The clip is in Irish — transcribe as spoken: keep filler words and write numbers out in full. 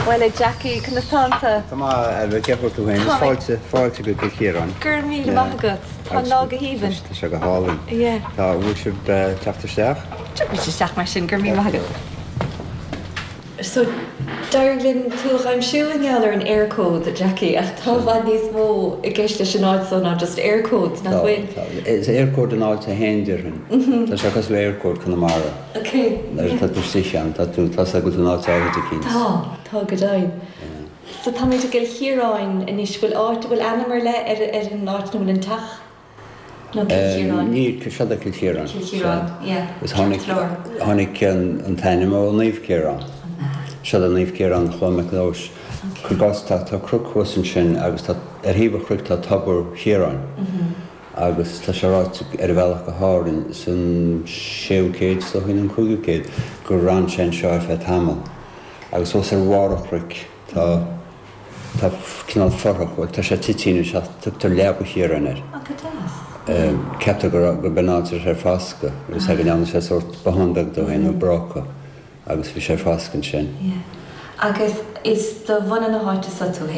Well a Jackie, conas tánn tú? Tá maith cén chaoi tú féin fáilte fáilte go Cill Chiaráin. Gur míle maith agat Tá lá go haoibhinn. Tá sé go hálainn. Tá bhfuil sibh teacht isteach? Tiocfaidh isteach mar sin gur mí agat. So d'éirigh linn tú a aimsiú i ngeall ar an Eircode Jackie ach tá i bhfad níos mó i gceist leis an áit seo ná just Eircode nach bhfuil. Is Eircode an áit féin déarfainn. Tá sé cosúil le Eircode Conamara. Ok. Tá tú sian tá tú tá go an áit áirithe cinn. Tá tá go deimhin. So tá muid i gCill Chiaráin anois bhfuil áit bhfuil ainm ar leith ar ar an áit nó bhfuil an teach nó Cill Chiaráin. Ní seo Cill Chiaráin. Cill Chiaráin, yeah. Is tháinig tháinig an t-ainm ó Naomh Ciarán. Seo Naomh Ciarán Clonmacnois. Cos tá tá cnoc thuas ansin agus tá ar thaobh an chnoic tá Tobar Chiaráin. agus tá sé ráite ar a bhealach go hÁrainn san séú céad so an cúigiú céad gur fhan sé anseo ar feadh tamaill. Agus os ar bharr an chnoic tá tá cineál forthach tá sé tite se tugtar Leaba Chiaráin air. Go deas. Ceaptar go go benáir ar fasca agus ag an sé sórt bothán beag dó féin nó bráca agus bhí sé fascan sin. Yeah. Agus is de bhunadh na háite seo tú